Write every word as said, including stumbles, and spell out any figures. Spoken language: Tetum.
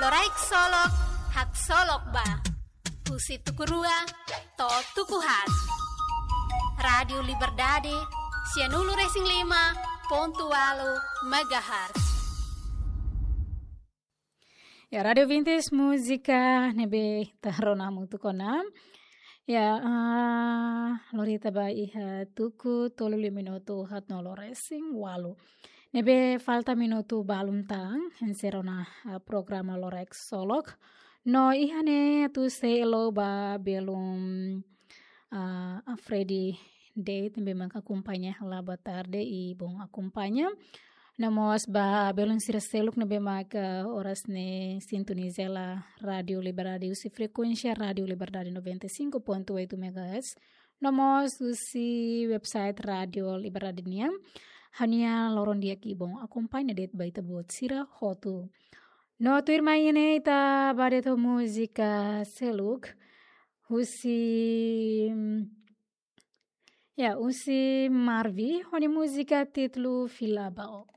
Loraik Solok, haksolok ba. Husi tuku rua to'o tuku haat. Rádiu Liberdade, sianulu-resin-lima pontu ualu megahertz. Ya, Rádiu Vintes, múzika ne'ebé ita rona hamutuk ona. Ya, ah, lori ita ba iha tuku tolu liu minutu haatnulu-resin-ualu. Ne'ebé falta minutu balun tan, enserra ona, ah, programa Loraik Solok. No iha ne'e atu seluk ba belun, ah, Freddy Date, ne'ebé mak akompaña hela boa tarde i bom akompaña. No mós ba belun sira seluk ne'ebé mak, ah, oras ne'e sintoniza hela Rádiu Liberdade husi frekuénsia Rádiu Liberdade noventa e cinco ponto oito megahertz. No mós husi website Rádiu Liberdade nian. Ha'u-nia loron di'ak i bom akompaña de'it ba ita-boot sira hotu. No tuirmai ne'e ita ba de'it ho múzika seluk. Husi, ya, husi Marvi, ho nia múzika títulu Fila Ba Ó.